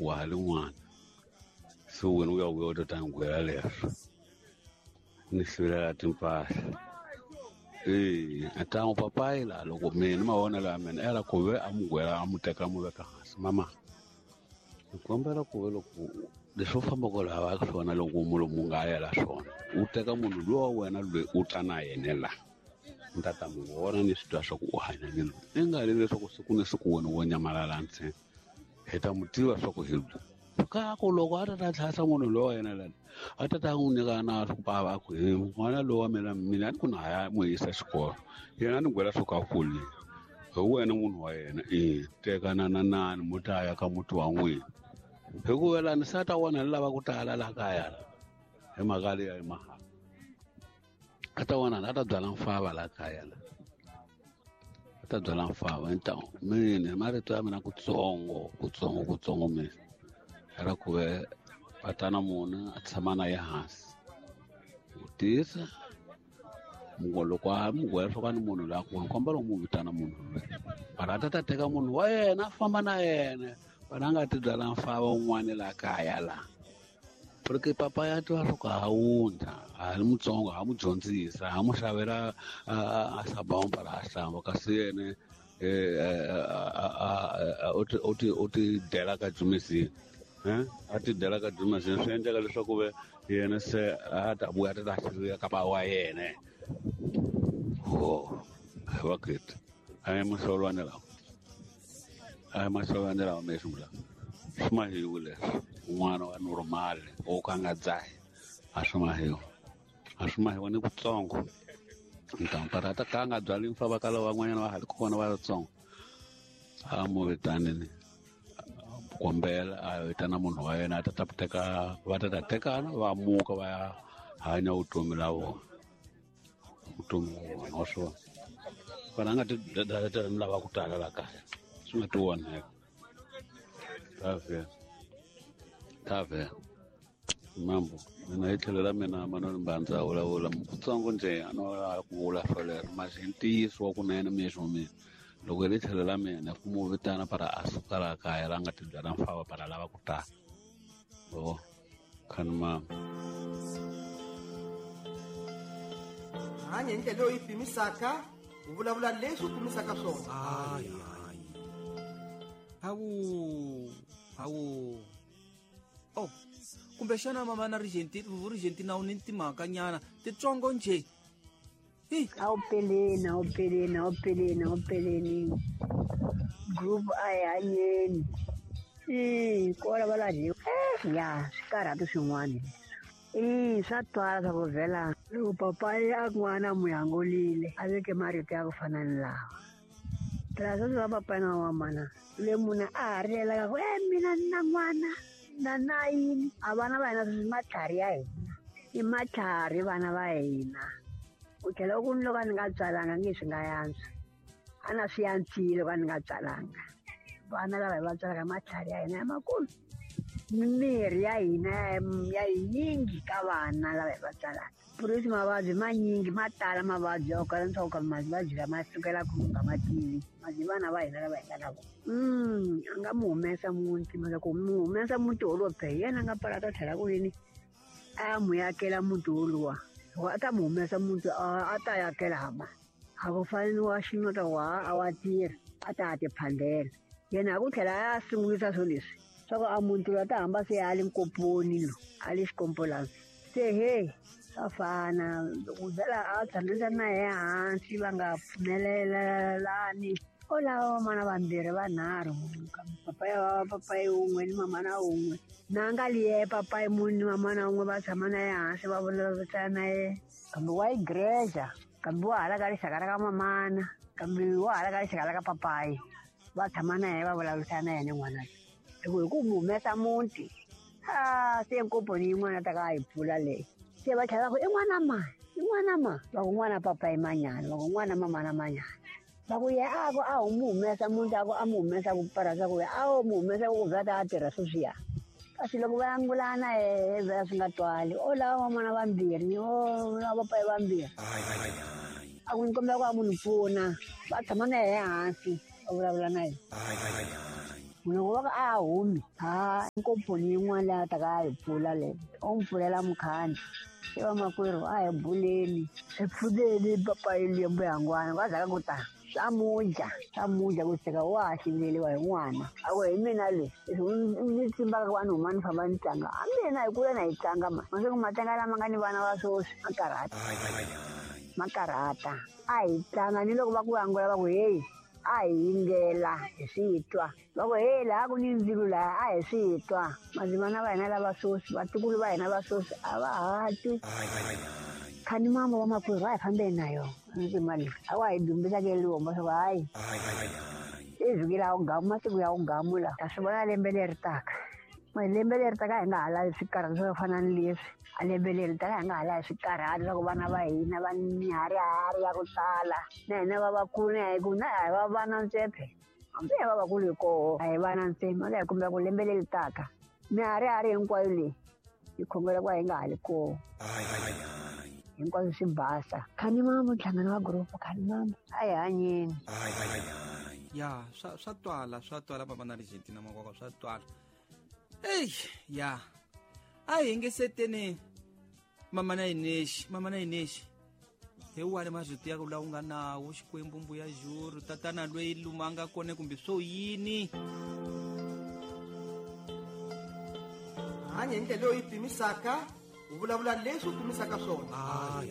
Wa ha ri n'wana se wena u ya vuya u ta ta ni gwela leswo ni sivelela timpahla e a ta n'wi papayi laha loko mina mavonelo ya mina era ku ve a mu gwela a mu teka a mu veka hansi mama ni kombela ku ve loko leswi u fambaka laha swona loko mulomu nga yela swona u teka munhu luwa wa wena loyi u ta na yena la ni ta ta mu vona ni swi twa swa ku u hanya ni loyi i nga ri leswaku siku ni siku wena wo nyamalala ntsena hi ta mu tiva swa ku hi loyi ka ku loko a ta ta tlhasa munhu loyi wa yena lani a ta ta n'wi nyika na swa ku bava a ku he n'wana loyi wa mina mina a ni ku na ha ya n'wi yisa xikolo yena a ni gwela swo ka kulile hi wena munhu wa yena e tekana na nani mu ta ya ka muti wa n'wina hikuva lani se a ta vona ni lava ku tala laha kaya la hi mhaka leyi ya mahala a ta vona a ta byala mfava laha kaya la a ta byala mfava ni mina hi marito ya mina kutsongo kutsongo kutsongo mina ra ku ve patana munhu a tshama na ye hansi vutisa loko a mugwela swo ka ni munhu loyi a ku kombela u n'wi vitana munhu loyi mara a ta ta teka munhu wa yena a famba na yena vana a nga ti byala mfava un'wana laha kaya laha porque papa ya tiva swo ka ha wundla ha ri mutsongo ha mu dyondzisa ha mu xavela a sabomba laha hlamba kasi yena u ti dela ka dzumesini a ti dela ka dzumesini swi endleka leswaku ve yena se a ta vuya ta ta ka ba wa yena ho vaketi a hi mahlolwane lawa a hi mahlolwane lawa me sungula swi mahiwu leswi un'wana wa normal wo ka nga dzahi a swi mahiwa a swi mahiwa ni kutsongo ntampara ta ka nga byali mfa va kala van'wanyana va ha ri kona va ri a mu vitanini kombela a vitana munhu wa yena a ta ta teka va ta ta tekana va muka va ya hanya vutomi la vona vutomi la vona wa swona vana nga ti ni lava ku tala la kaya swi nga ti onheka ta vhela mambo mina hi tlhelo ra mina Manuel Mbanza vulavula kutsongo njhe a no ku vula swolero masi i ntiyiso wa kunene mixo mina loko hi le tlhelo ra mina ku mu vitana para a suka laha kaya la nga ti byala mfava para lava ku tala o khani mama hanya hi ndlela leyi pimisaka u vulavula leswi u pimisaka swona hawu hawu oh kumbexana mama na Argentina u ni timhaka nyana titsongo nje awupeleni awupeleni awupeleni awupeleni group a hi hanyeni i kola va laha ya swikarhati swin'wana leswi i swa twala swa ku vhela loko papayi a n'wana muyangolile a veke marito ya ku fana ni lawa phela sweswi va papayi na mamana le munhu a ha rilelaka ku e mina ni na n'wana na na yini a vana va hina sweswi matlhari ya hina i matlhari vana va hina u tlhela u ku ni loko a ni nga tswalanga nge swi nga yantswa a na swi yantswile loko a ni nga tswalanga vana lava hi va tswalaka matlhari ya hina ya makulu mimirhi ya hina ya yinyingi ka vana lava hi va tswalaka purisi mavabyi manyingi ma tala mavabyi ya ku kala leswaku ka mavabyi lama sukela ku nga ma tivi mavabyi vana va hina lava hi nga na vona a nga mu humesa muti mara ku mu humesa muti wolowo phe hi yena a nga pala ta tlhela ku yini a mu yakela muti woluwa loko a ta mu humesa muti a ta yakela hama a ku fani ni wa xinota wa a wa tirha a ta ha tiphandela yena a ku tlhela a sungulisa swo leswi swa ku a muti loyi a ta hamba se a le nkoponi lo a le xikompolani se he swa fana loko vhela a tshamisa na ye hansi va nga pfumelelani o lava vamana vambirhi vanharhu papayi va papayi wun'we ni mamana wun'we na nga liye papayi munhu ni mamana wun'we va tshama na ye hansi va vulavurisana na ye kambe wa yi greja kambe wa hala ka rixaka ra ka mamana kambe wa hala ka rixaka ra ka papayi va tshama na ye va vulavurisana na yena n'wana hi ku mu humesa muti a se nkomponi yin'wana ta ka yi pfula leyi se va tlhela va ku i n'wana mani i n'wana ma va ku n'wana papayi manyana va ku n'wana mamana manyana va ku ye a ku a wu mu humesa muti a ku a mu humesa ku parasa ku a wu mu humesa ku vhela ta a tirha sweswiya kasi loko va angulana he vhela swi nga twali o lava van'wana vambirhi o lava papayi vambirhi a ku ni kombela ku a munhu pfuna va tshama na yehe hansi va vulavula na yena. Loko va ku a humi ha nkomponi yin'wana leyi a ta ka a hi pfula leyo o mi pfulela mukhandlu i vamakwerhu a hi buleni hi pfuneni papayi lembu yangwana va zaka ku ta swa mudya ku seka wa ha hliveliwa hi n'wana a ku hi mina le ni tsimbaka ku va ni huma ni famba ni tlanga a mina hi kula na hi tlanga ma masiku matlanga lama nga ni vana va swoswi ma karhata a hi tlanga ni loko va ku angula va ku heyi a hi yingela hi swi twa va ku heyi laha ku ni ndzilo laha a hi swi twa madzimana va hina lava swoswi vatukulu va hina va swoswi a va ha twi khani mama wa makwerhu a hi fambeni na yona ndzima leyi a wa hi dumbisa ke lihomba swa ku hayi i vhiki la wugamu masiku ya wugamu lawa ta swi vona lembe leri taka lembe leri taka hi nga ha lavi swikarhati swo fana ni leswi a lembe leri taka hi nga ha lavi swikarhati swa ku vana va hina va miharihari ya ku tala na hina va vakulu na hi ku na hi va vana ntsephe hambi hi va vakulu hi koho a hi vana ntsena la hi kombela ku lembe leri taka miharihari hinkwayo leyi hi khongela ku hi nga ha li koho hinkwaswo swi basa khani mama nhlangano wa gurupu khani mama a hi hanyeni ya swa twala mama na Argentina makwakwa swa twala. Ei ya a hi yingiseteni mama na Ineshi hi wani marito ya ku lawa nga nawo Xikwembu mbuya juru tatana loyi luma nga kone kumbe swo yini hanya hi ndlela leyi pimisaka u vulavula leswi u pimisaka swona.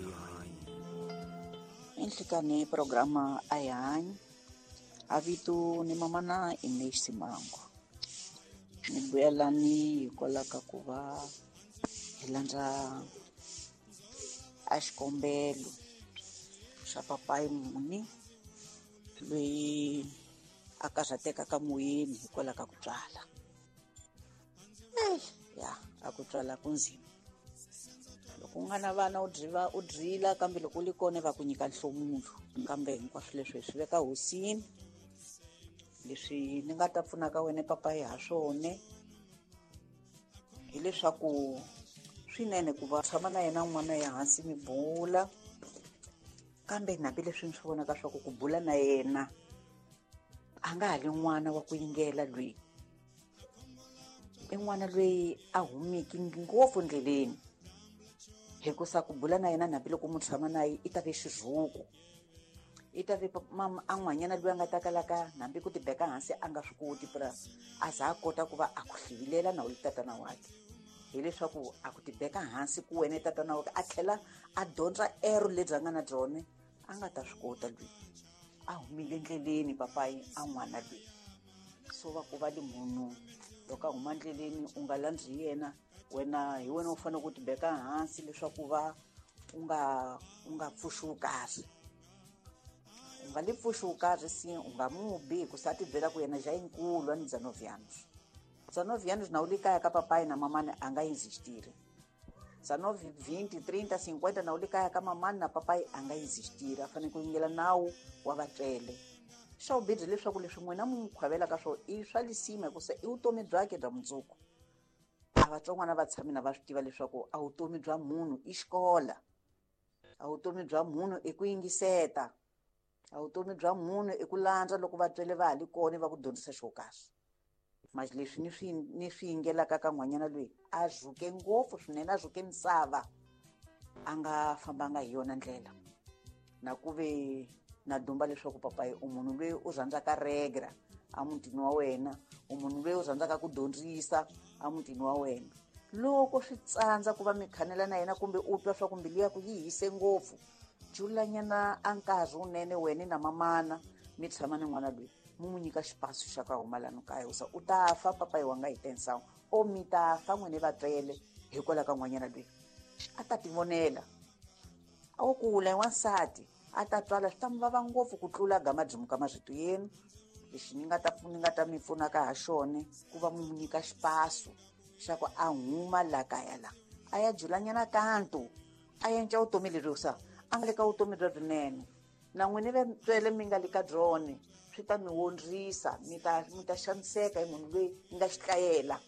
Enhlikani programa a hi hanyi a vito ni mama na Ineshi Simango ni vuyelani hikwalaho ka ku va hi landza a xikombelo xa papayi muni loyi a karhatekaka moyeni hikwalaho ka ku tswala. Ya a ku tswala ku nzima loko u nga na vana u drila kambe loko u li kona va ku nyika nhlomulo kambe hinkwaswo leswi hi swi veka hosini. Leswi ni nga ta pfunaka wena papayi ha swona hileswaku swinene ku va tshama na yena n'wana ya hansi mi bula kambe hambi leswi ni swi vonaka swa ku bula na yena a nga ha li n'wana wa ku yingela loyi i n'wana loyi a humiki ngopfu ndleleni hikusa ku bula na yena hambiloko mu tshama na ye i ta ve xirhuku i ta ve mama a n'wanyana loyi a nga ta kalaka hambi ku tibeka hansi a nga swi koti pura a za a kota ku va a ku hlivilela na u li tatana wakhe hileswaku a ku tibeka hansi ku wena tatana wakhe a tlhela a dyondza ero lebyi a nga na byona a nga ta swi kota loyi a humile ndleleni papayi a n'wana loyi so va ku va li munhu loko a huma ndleleni u nga landzi yena wena hi wena u fanele ku tibeka hansi leswaku va u nga pfuxi wu karhi u nga li pfuxi wu karhi si u nga mubi hikusa a ti byela ku yena ja yinkulu a ni dzanovianos na u li kaya ka papayi na mamani a nga insistiri dzanovi 20 30 50 na u li kaya ka mamani na papayi a nga insistiri a fanele ku yingela nawu wa vatswele. Xa vubirhi leswaku leswi n'wina mu n'wi khwavelaka swona i swa lisima hikusa i vutomi byakhe bya mundzuku. A vatsongwana va tshami na va swi tiva leswaku a vutomi bya munhu i xikola a vutomi bya munhu i ku yingiseta a vutomi bya munhu i ku landza loko vatswele va ha li kona va ku dyondzisa xo karhi. Manje leswi ni swi yingelaka ka n'wanyana loyi a rhuke ngopfu swinene a rhuke misava a nga fambanga hi yona ndlela na ku ve na dumba leswaku papayi u munhu loyi u rhandzaka regra a mutini wa wena u munhu loyi u rhandzaka ku dyondzisa a mutini wa wena loko swi tsandza ku va mi khanela na yena kumbe u twa swa ku mbilu ya ku yi hise ngopfu julanyana a nkarhi wunene wena na mamana mi tshama ni n'wana loyi mu n'wi nyika xipasu xa ka huma lano kaya usa u ta fa papayi wa nga hi tensawu o mi ta fa n'wini vatswele hikwalaho ka n'wanyana loyi a ta tivonela a wo kula hi wansati a ta twala swi ta mi vava ngopfu ku tlula gama byimuka marito yenu. Lexi ni nga ta mi pfunaka ha xona ku va mu nyika xipasu xa ku a huma la kaya la a ya julanyana kanto a yenca vutomi leri sa a nga le ka vutomi bya byinene na n'wini vatswele mi nga le ka byona swi ta mi wondzisa mi ta xaniseka hi munhu loyi mi nga xitlayela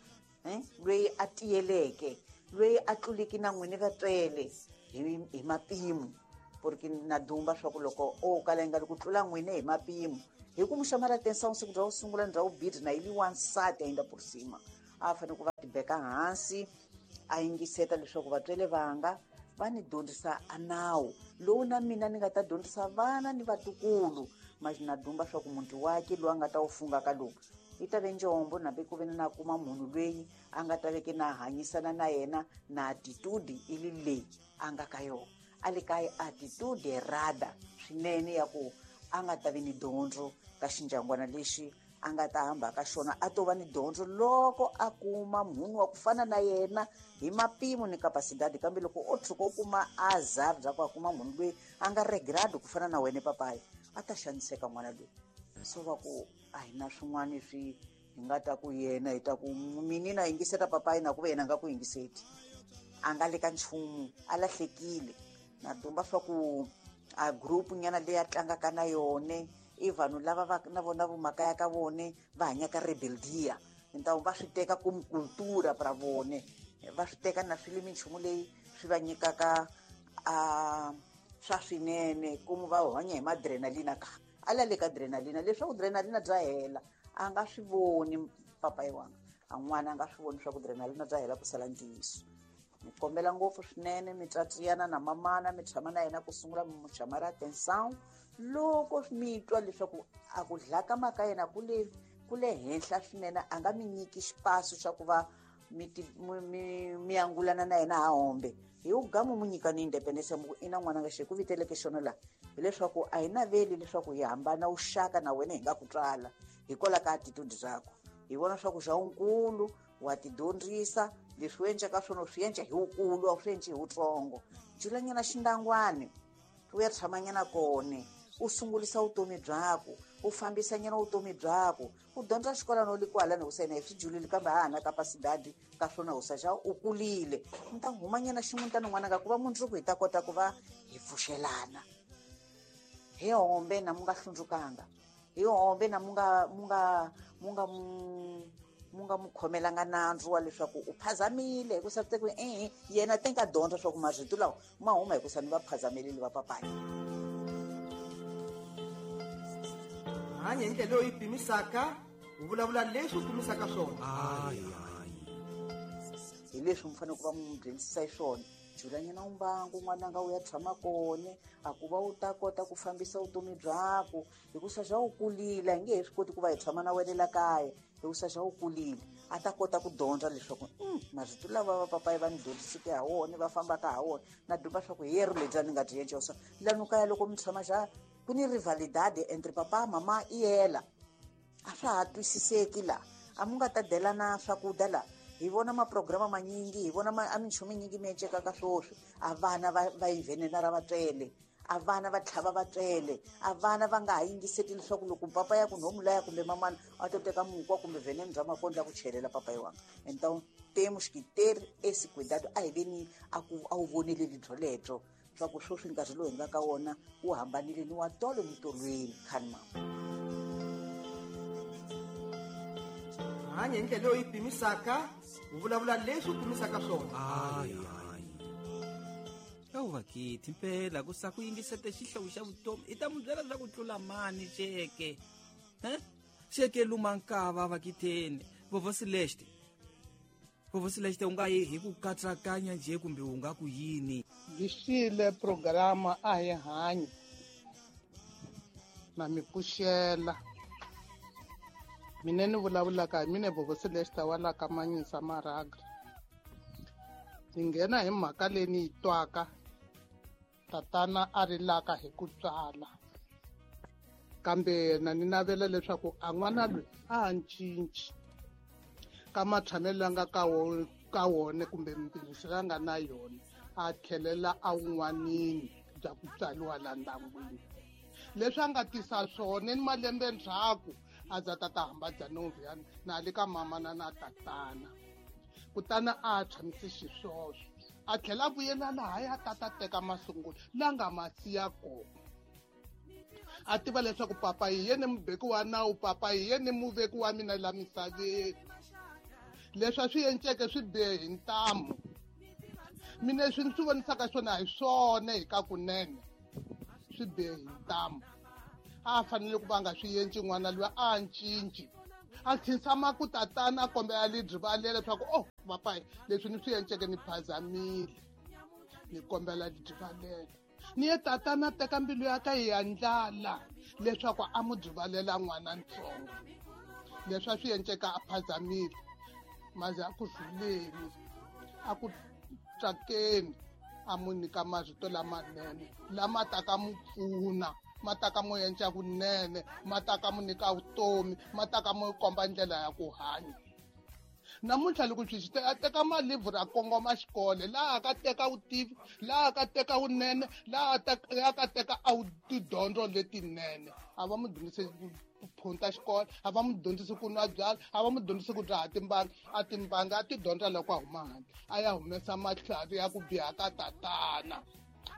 loyi a tiyeleke loyi a tluliki na n'wini vatswele hi mapimo porque na dumba swa ku loko o kala yi nga ri ku tlula n'wini hi mapimo Hi ku mu chamar a atenção siku bya ku sungula ni bya vumbirhi na yi li wansati ainda por cima. A fanele ku va tibeka hansi a yingiseta leswaku vatswele vanga va ni dyondzisa a nawu lowu na mina ni nga ta dyondzisa vana ni vatukulu. Mas na dumba swa ku muti wake lowu a nga ta wu funga ka lowu yi ta ve njombo nambe ku ve na kuma munhu loyi a nga ta veke na hanyisana na yena na attitude i li leyi a nga ka yona. A le ka attitude errada swinene ya ku a nga ta vi ni dyondzo ka xindyangwana lexi a nga ta hamba ka xona, a to va ni dyondzo loko a kuma munhu wa ku fana na yena hi mapimo ni capacidade. Kambe loko o tshuka u kuma azar bya ku a kuma munhu loyi a nga regrade ku fana na wena papayi, a ta xaniseka n'wana loyi. So va ku a hi na swin'wana swi hi nga ta ku yena hi ta ku minina yingiseta papayi na ku ve yena a nga ku yingiseti, a nga le ka nchumu, a lahlekile. Na dumba swa ku a group nyana leyi a tlangaka na yone i vanhu lava va na vona vumakaya ka vone va hanyaka rebeldia, ntawu va swi teka como cultura pra vone, va swi teka na swi le minchumu leyi swi va nyikaka a swa swinene como va hanya hi madrenalina ka a la le ka adrenalina, leswaku adrenalina bya hela a nga swi voni papayi wanga, a n'wana a nga swi voni swa ku adrenalina bya hela ku sala ntiyiso. Mi kombela ngopfu swinene mi tsatsiyana na mamana mi tshama na yena ku sungula mi mu chamar atenção loko mi twa leswaku a ku dlaka maka yena ku le henhla swinene, a nga mi nyiki xipaso xa ku va mi angulana na yena ha hombe. Hi wu gamu mu nyika ni independence mu ku ina n'wana nga xi ku viteleke xona la, hileswaku a hi naveli leswaku hi hambana wuxaka na wena hi nga ku tswala hikwalaho ka attitude byakho. Hi vona swa ku xa wunkulu wa ti dyondzisa leswi u endlaka swona u swi endla hi wukulu, a wu swi endli hi wutsongo. Julanyana xindangwani u ya tshamanyana kone, u sungulisa vutomi byakho, u fambisanyana vutomi byakho, u dyondza xikolwana u le kwalani u yena hi swi julile kambe a ha na capacidade ka swona u sa xa u kulile. Mi ta humanyana ximutana n'wananga ku va mundzuku hi ta kota ku va hi pfuxelana. Hi hombe na mu nga hlundzukanga, hi hombe na mu nga mu khomelanga nandzu wa leswaku u phazamile hi ku sa ku yena te nga dyondza swa ku marito lawa ma huma hi ku sa ni va phazameleli va papayi. Hanya hi ndlela leyi pimisaka, u vulavula leswi u pimisaka swona. Hi leswi mi fanele ku va mu dyondzisa hi swona. Julanyana umbangu n'wananga u ya tshama kone, a ku va u ta kota ku fambisa vutomi byakho hi ku sa xa u kulile, a nge he swi koti ku va hi tshama na wena la kaya hi ku sa xa u kulile, a ta kota ku dyondza leswaku marito lava va papayi va ni dyondziseke ha wona va fambaka ha wona na dyondza swa ku hi yero lebyi a ni nga byi endla swa lanu kaya loko mi tshama xa ku ni rivalidade entre papa mama i yela a swa ha twisiseki la a mu nga ta delana swakudya la. Hi vona maprograma manyingi, hi vona a minchumu minyingi mi encekaka swoswi, a vana va yi venena ra vatswele, a vana va tlhava vatswele, a vana va nga ha yingiseti leswaku loko papa ya ku nhomu laya kumbe mamana a to teka mukwa kumbe venene bya makondlo ya ku chelela papayi wanga. Então temos que ter esse cuidado, a hi veni a ku a wu voneleli byolebyo swa ku swoswi nkarhi lowu hi nga ka wona wu hambanile ni wa tolo ni tolweni khani mama. Hanya hi ndlela leyi pimisaka, u vulavula leswi u pimisaka swona. Vakithi mpela ku sa ku yingisete xihlovo xa vutomi i ta mu byela swa ku tlula mani xeke xeke luma nkava vakitheni Vovó Celeste. Vovó Celeste u nga yi hi ku katsakanya njhe kumbe u nga ku yini? Yi programa a hi hanyi na mi pfuxela. Mina ni vulavulaka hi mina Vovó Celeste wa la ka Manyisa Maraga. Ni nghena hi mhaka leyi ni yi twaka tatana a rilaka hi ku tswala, kambe na ni navela leswaku a n'wana loyi a ha cinci ka matshamelo la nga ka wona kumbe mpimiso la nga na yona, a tlhelela a wun'wanini bya ku tswariwa la ndyangwini. Leswi a nga tisa swona ni malembe ndzhaku a za tata hamba bya novya na le ka mamana na tatana, kutani a tshamise xiswoswo a tlhela a vuyela laha ya tata teka masungulo la nga ma siya kona. A tiva leswaku papa hi yena mubeki wa nawu, papa hi yena muveki wa mina la misaveni. Leswi a swi enceke swi bihe hi ntamu. Mina leswi ni swi vonisaka swona hi swona hi ka kunene swi bihe hi ntamu. A fanele ku va nga swi endli n'wana luya a cinci. A khinsama ku tatana a kombela lidrivalela leswaku oh papayi leswi ni swi endleke ni phazamile, ni kombela lidrivalela. Ni ye tatana teka mbilu ya ka yi ndlala leswaku a mu drivalela n'wana ntsongo. Leswi a swi endleka a phazamile, maze a ku rhuleni, a ku tsakeni, a mu nyika marito lamanene lama taka mu pfuna, ma taka mu endla kunene, ma taka mu nyika vutomi, ma taka mu komba ndlela ya ku hanya. Namuntlha loko swi a teka malivhuri a kongoma xikolo, laha ka teka vutivi, laha ka teka vunene, laha ka teka a tidyondzo letinene. A va mu dyondzise ku phunta xikolo, a va mu dyondzise ku nwa byala, a va mu dyondzise ku dzaha timbanga, a timbanga a ti dyondza loko a huma handle, a ya humesa matlhari ya ku biha ka tatana.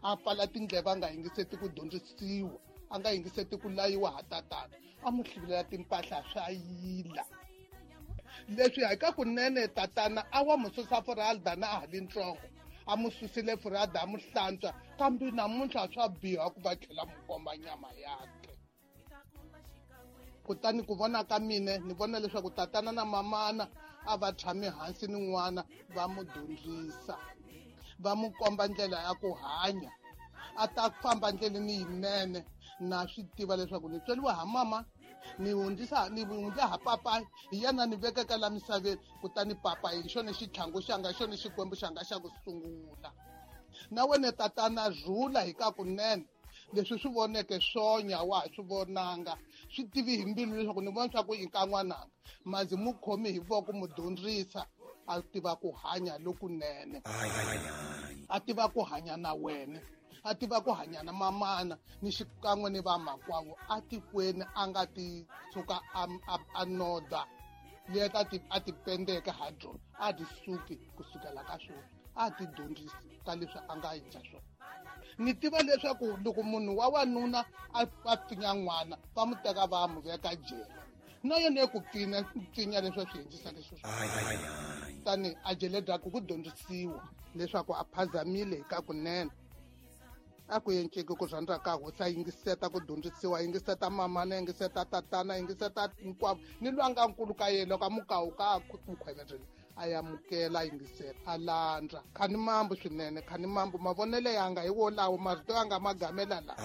A pfala tindleve a nga yingiseti ku dyondzisiwa, a nga yingiseti ku layiwa ha tatana, a mu hluvulela timpahla swa yila. Leswi hi ka kunene tatana a wa mu susa furalda na a ha li ntsongo, a mu susile furalda a mu hlantswa, kambe namuntlha swa biha ku va tlhela mu komba nyama yakhe. Kutani ku vona ka mina ni vona leswaku tatana na mamana a va tshami hansi ni n'wana va mu dyondzisa, va mu komba ndlela ya ku hanya, a ta famba ndleleni yinene. Na swi tiva leswaku ni tsweriwa ha mama, ni hundzisa ni hundza ha papa, hi yena ni vekeka la misaveni, kutani papa hi xona xitlhangu xanga, xona xikwembu xanga xa ku sungula. Na wena tatana rhula hi ka kunene, leswi swi voneke swonya wa ha swi vonanga, swi tivi hi mbilu leswaku ni vona swa ku i ka n'wananga, mazi mu khomi hi voko mu dyondzisa a tiva ku hanya lokunene, a tiva ku hanya na wena, a tiva ku hanya na mamana ni xikan'we ni vamakwavo atikweni, a nga ti tshuka a noda leta a ti pendeke ha byona, a ti suki kusukela ka swona, a ti dyondzisi ka leswi a nga endla swona. Ni tiva leswaku loko munhu wa wanuna a pfinya n'wana va mu teka va mu veka jele, na yena ku pfinya leswi a swi endlisaka xiswona. Tani a jele byaku ku dyondzisiwa leswaku a phazamile hi ka kunene, a ku enceki ku rhandza ka hosi, a yingiseta ku dyondzisiwa, a yingiseta mamana, a yingiseta tatana, a yingiseta hinkwavo, ni lwa nga nkulu ka yena loko a mukawuka a ku khweverile, a amukela, a yingisela, a landza. Khani mambu swinene, khani mambu mavonelo yanga hi wolawo, marito yanga ma gamela la.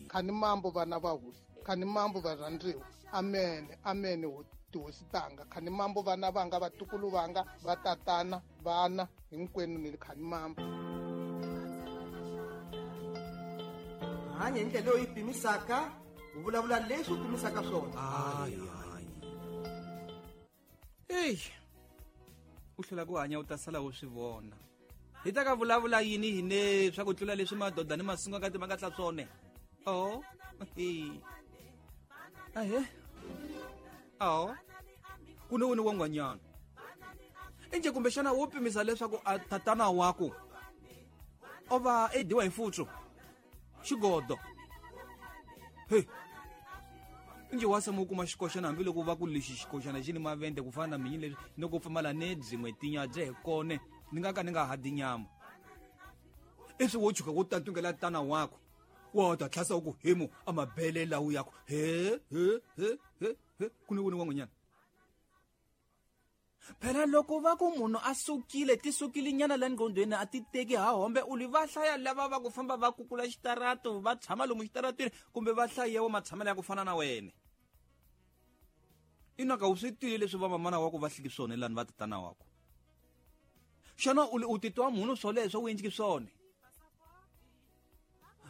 Khani mambu vana va hosi, khani mambu varhandziwa, amene, amene tihosi tanga, khani mambu vana vanga, vatukulu vanga, va tatana, vana hinkwenu ni khani mambu. Hanya hi ndlela leyi pimisaka, u vulavula leswi u pimisaka swona. Ey, u hlula ku hanya u ta sala u swi vona. Hi ta ka vulavula yini hi ne swa ku tlula leswi madoda ni masunga ka timanga tla swone. Oh, ahe. Oh. Ku ne wena wa n'wanyana. Enje kumbexana wo pimisa leswaku a tatana wako o va e dyiwa hi futsu xigodo. Hey. Nje wa sama u kuma xikoxana hambiloko va ku lexi xikoxana xi ni mavende ku fana na minyi leswi ni ku pfumala ne byin'we tinya bye hi kone ni nga ka ni nga ha dyi nyama. Iswi wo chuka wo tatungela tana wako wa ta tlhasa u ku hemu a mabele lawu yako he he he he he ku ni wena wa n'wanyana. Phela loko va ku munhu a sukile ti sukile nyana la nqondweni a ti teki ha hombe u li va hlaya lava va ku famba va kukula xitarato va tshama lomu xitaratweni kumbe va hlayewa matshamelo ya ku fana na wena. Inaka u swi twile leswi va mamana wa ku va hliki swona lani va tatana wa ku. Xana u titwa munhu swoleswo u endliki swona?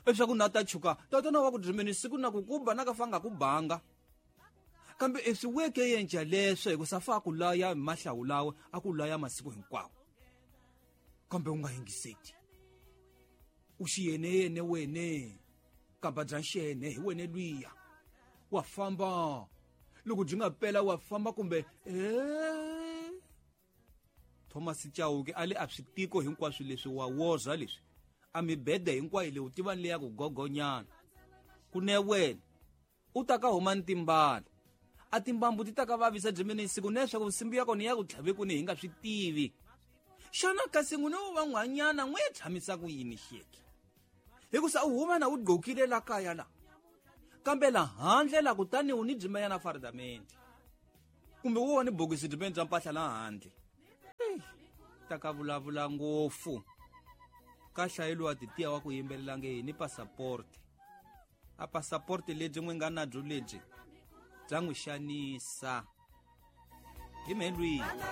Leswaku na ta chuka tatana wa ku drimeni siku na ku kuba na ka fanga ku banga. Kambe eswi weke yenja leswo hi ku safa ku laya mahlawu lawa a ku laya masiku hinkwawo. Kambe u nga yingiseti. U xiyene yene wene kamba bya xene hi wene lwiya. Wa famba loko byi nga pela wa famba kumbe Thomas Chauke a le a swi tiko hinkwaswo leswi wa woza leswi a mibede hinkwayo leyi u tiva leya ku gogonyana. Ku ne wena u ta ka huma ni timbala a timbambu ti ta ka vavisa dyimeni siku ne swa ku nsimbi ya kona ya ku tlhave ku ni hi nga swi tivi. Xana kasi n'wina wo va n'wanyana n'wi tshamisa ku yini xeke? Hikusa u huma na u gqokile la kaya la. Kambe la handle la kutani u ni byimenyana faridamente kumbe wo ni bokisi byimeni bya mpahla la handle. Ta ka vulavula ngopfu ka hlayeliwa titiya wa ku yimbelela nge ni passaporte. A passaporte lebyi n'wi nga na byo lebyi bya n'wi xanisa hi mhelwini.